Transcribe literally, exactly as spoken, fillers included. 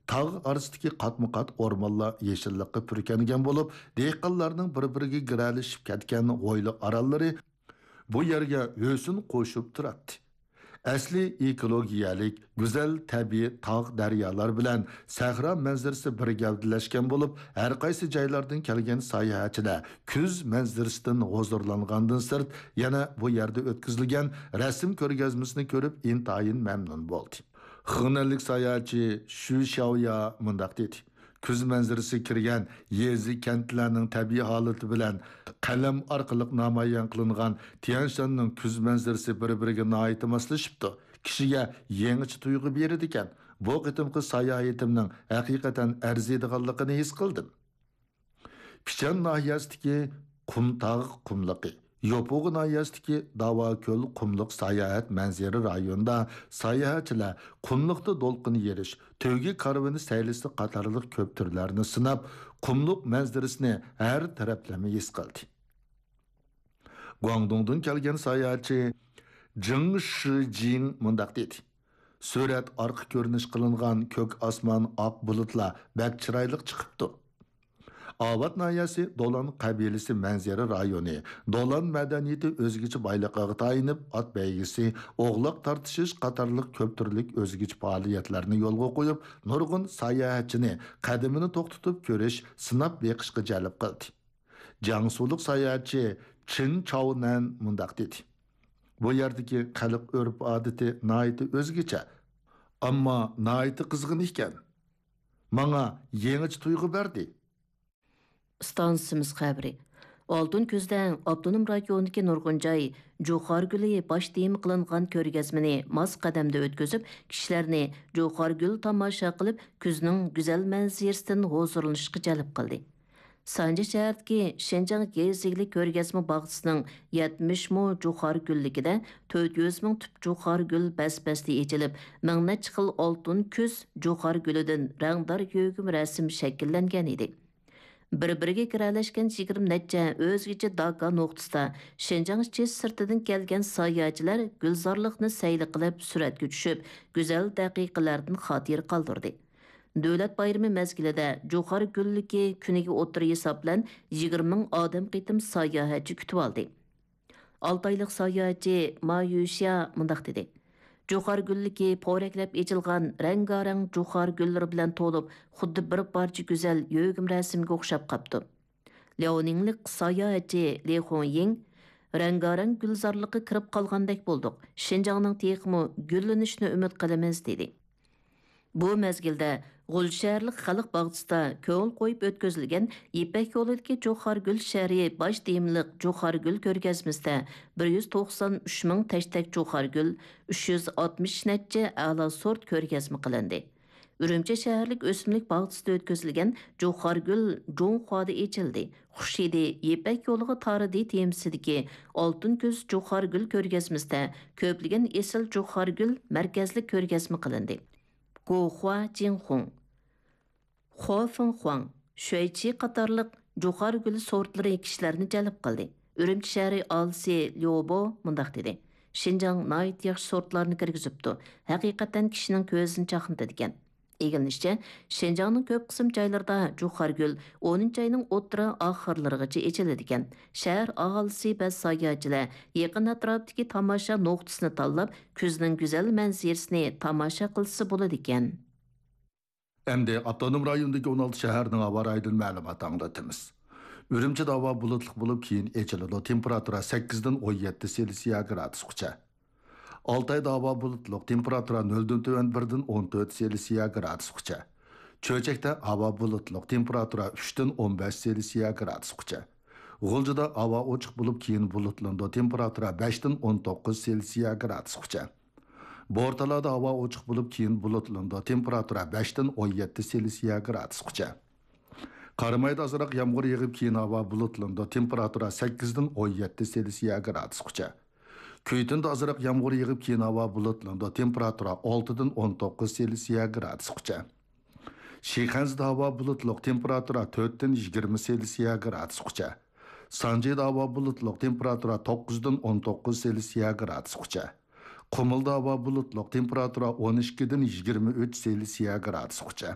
تاغ ئارىسىدىكى قاتمۇ-قات ئورمانلار يېشىللىققا پۈركەنگەن بولۇپ، دېھقانلارنىڭ بىر-بىرىگە گىرەلىشىپ كەتكەن ھويلا ئارانلىرى بۇ يەرگە ھۆسن قوشۇپ تۇراتتى. ئەسلى ئېكولوگىيەلىك، گۈزەل تەبىئىي تاغ، دەريالار بىلەن سەھرا مەنزىرىسى بىر گەۋدىلەشكەن بولۇپ، ھەر قايسى جايلاردىن كەلگەن ساياھەتچىلەر كۈز مەنزىرىسىدىن ھۇزۇرلانغاندىن سىرت، يەنە بۇ يەردە ئۆتكۈزۈلگەن رەسىم كۆرگەزمىسىنى كۆرۈپ ئىنتايىن مەمنۇن بولدى. خېنەنلىك ساياھەتچى شۈ شياۋيا مۇنداق دېدى: «كۈز مەنزىرىسى كىرگەن يېزا، كەنتلەرنىڭ تەبىئىي ھالىتى بىلەن قەلەم ئارقىلىق نامايان قىلىنغان تيەنشاننىڭ كۈز مەنزىرىسى بىر-بىرىگە ناھايىتى ماسلىشىپتۇ. كىشىگە يېڭىچە تۇيغۇ بېرىدىكەن. بۇ قېتىمقى ساياھىتىمنىڭ ھەقىقەتەن ئەرزىيدىغانلىقىنى ھېس قىلدىم.» پىچەن ناھىيەسىدىكى قۇمتاغ قۇملۇقى، يوپۇغا ناھىيەسىدىكى داۋاكۆل قۇملۇق ساياھەت مەنزىرە رايونىدا ساياھەتچىلەر قۇملۇقتا دولقۇن يېرىش، تۆگە كارۋىنى سەيلىسى قاتارلىق كۆپ تۈرلەرنى سىناپ، قۇملۇق مەنزىرىسىنى ھەر تەرەپلىمە ھېس قىلدى. گۇاڭدۇڭدىن كەلگەن ساياھەتچى جېڭ شىجىڭ مۇنداق دېدى: «سۈرەت ئارقا كۆرۈنۈش قىلىنغان كۆك ئاسمان، ئاق بۇلۇتلار بەك چىرايلىق چىقىپتۇ.» ئاۋات ناھىيەسى دولان قەبىلىسى مەنزىرە رايونى دولان مەدەنىيىتى ئۆزگىچە بايلىقىغا تايىنىپ، ئات بەيگىسى، ئوغلاق تارتىشىش قاتارلىق كۆپ تۈرلۈك ئۆزگىچە پائالىيەتلەرنى يولغا قويۇپ، نۇرغۇن ساياھەتچىنى قەدىمىنى توختىتىپ كۆرۈش، سىناپ بېقىشقا جەلپ قىلدى. جياڭسۇلۇق ساياھەتچى چېن چاۋنەن مۇنداق دېدى: «بۇ يەردىكى خەلق ئۆرپ-ئادىتى ناھايىتى ئۆزگىچە، ئەمما ناھايىتى قىزغىن ئىكەن. ماڭا يېڭىچە تۇيغۇ بەردى.» ئىستانسىمىز خەۋىرى. ئالتۇن كۈزدە ئاپتونوم رايوندىكى نۇرغۇن جاي جۇخارگۈلى باش تېما قىلىنغان كۆرگەزمىنى ماس قەدەمدە ئۆتكۈزۈپ، كىشىلەرنى جۇخارگۈل تاماشا قىلىپ، كۈزنىڭ گۈزەل مەنزىرىسىدىن ھۇزۇرلىنىشقا جەلپ قىلدى. سانجى شەھىرىدىكى شىنجاڭ يېزا ئىگىلىك كۆرگەزمە باغچىسىنىڭ يەتمىش مو جۇخارگۈللۈكىدە تۆت يۈز مىڭ تۈپ جۇخارگۈل بەس-بەستە ئېچىلىپ، مىڭ نەچچە خىل ئالتۇن كۈز جۇخارگۈلىدىن رەڭدار يۆگىمە رەسىم شەكىللەنگەن ئىدى. بىر-بىرىگە گىرەلەشكەن يىگىرمە نەچچە ئۆزگىچە داكا نۇقتىسىدا شىنجاڭ ئىچى سىرتىدىن كەلگەن ساياھەتچىلەر گۈلزارلىقنى سەيلە قىلىپ، سۈرەتكە چۈشۈپ، گۈزەل دەقىقىلەردىن خاتىرە قالدۇردى. دۆلەت بايرىمى مەزگىلىدە جۇخار گۈللۈكى كۈنىگە ئوتتۇرا ھېساب بىلەن يىگىرمە مىڭ ئادەم قېتىم ساياھەتچى كۈتۈۋالدى. ئالتايلىق ساياھەتچى ما يۈشيا مۇنداق دېدى: «جۇخار گۈللۈكى پورەكلەپ ئېچىلغان رەڭگارەڭ جۇخار گۈللىرى بىلەن تولۇپ، خۇددى بىر پارچە گۈزەل يۆگىمە رەسىمگە ئوخشاپ قاپتۇ.» لياۋنىڭلىق ساياھەتچى لى خۇڭيىڭ: «رەڭگارەڭ گۈلزارلىققا كىرىپ قالغاندەك بولدۇق. شىنجاڭنىڭ تېخىمۇ گۈللىنىشىنى ئۈمىد قىلىمىز» دېدى. بۇ مەزگىلدە غۇلجا شەھەرلىك خەلق باغچىسىدا كۆڭۈل قويۇپ ئۆتكۈزۈلگەن يىپەك يولىدىكى جۇخار گۈل شەھىرى باش تېمىلىق جۇخار گۈل كۆرگەزمىسىدە بىر يۈز توقسان ئۈچ مىڭ تەشتەك جۇخار گۈل، ئۈچ يۈز ئاتمىش نەچچە ئەلا سورت كۆرگەزمە قىلىندى. ئۈرۈمچى شەھەرلىك ئۆسۈملۈك باغچىسىدا ئۆتكۈزۈلگەن جۇخار گۈل جۇڭخۇادا ئېچىلدى. خۇش ھىدى يىپەك يولىغا تارىدى تېمىسىدىكى ئالتۇن كۈز جۇخار گۈل كۆرگەزمىسىدە كۆپلىگەن ئېسىل جۇخار گۈل مەركەزلىك كۆرگەزمە قىلىندى. گوخۇا جىنخۇڭ، خۇا فېڭخۇاڭ، شۈەيچى قاتارلىق جۇخار گۈل سورتلىرى كىشىلەرنى جەلپ قىلدى. ئۈرۈمچى شەھىرى ئاھالىسى ليۇ بو مۇنداق دېدى: «شىنجاڭ ناھايىتى ياخشى سورتلارنى كىرگۈزۈپتۇ، ھەقىقەتەن كىشىنىڭ كۆزىنى چاقنىتىدىكەن.» ئىگىلىنىشىچە، شىنجاڭنىڭ كۆپ قىسىم جايلىرىدا جۇخار گۈل ئونىنچى ئاينىڭ ئوتتۇرا ئاخىرلىرىغىچە ئېچىلىدىكەن. شەھەر ئاھالىسى ۋە ساياھەتچىلەر يېقىن ئەتراپتىكى تاماشا نۇقتىسىنى تاللاپ، كۈزنىڭ گۈزەل مەنزىرىسىنى تاماشا قىلسا بولىدىكەن. ئەمدى ئاپتونوم رايوندىكى ئون ئالتە شەھەرنىڭ ھاۋا رايىدىن مەلۇمات ئاڭلىتىمىز. ئۈرۈمچىدە ھاۋا بۇلۇتلۇق بولۇپ، كېيىن ئېچىلىدۇ. تېمپېراتۇرا سەككىزدىن ئون يەتتە سېلسىيە گرادۇسقىچە. ئالتايدا ھاۋا بۇلۇتلۇق، تېمپېراتۇرا نۆلدىن تۆۋەن بىردىن ئون تۆت سېلسىيە گرادۇسقىچە. چۆچەكتە ھاۋا بۇلۇتلۇق، تېمپېراتۇرا ئۈچتىن ئون بەش سېلسىيە گرادۇسقىچە. غۇلجىدا ھاۋا ئوچۇق بولۇپ، كېيىن بۇلۇتلىنىدۇ، تېمپېراتۇرا بەشتىن ئون توققۇز سېلسىيە گرادۇسقىچە. بورتالادا ھاۋا ئوچۇق بولۇپ، كېيىن بۇلۇتلىنىدۇ، تېمپېراتۇرا بەشتىن ئون يەتتە سېلسىيە گرادۇسقىچە. قارامايدا ئازراق يامغۇر يېغىپ، كېيىن ھاۋا بۇلۇتلىنىدۇ، تېمپېراتۇرا سەككىزدىن ئون يەتتە سېلسىيە گرادۇسقىچە. كۈيتۈندە ئازراق يامغۇر يېغىپ، كېيىن ھاۋا بۇلۇتلىنىدۇ، تېمپېراتۇرا ئالتىدىن ئون توققۇز سېلسىيە گرادۇسقىچە. شىخەنزىدە ھاۋا بۇلۇتلۇق، تېمپېراتۇرا تۆتتىن يىگىرمە سېلسىيە گرادۇسقىچە. سانجىدا ھاۋا بۇلۇتلۇق، تېمپېراتۇرا توققۇزدىن ئون توققۇز سېلسىيە گرادۇسقىچە. قۇمۇلدا ھاۋا بۇلۇتلۇق، تېمپېراتۇرا ئون ئىككىدىن يىگىرمە ئۈچ سېلسىيە گرادۇسقىچە.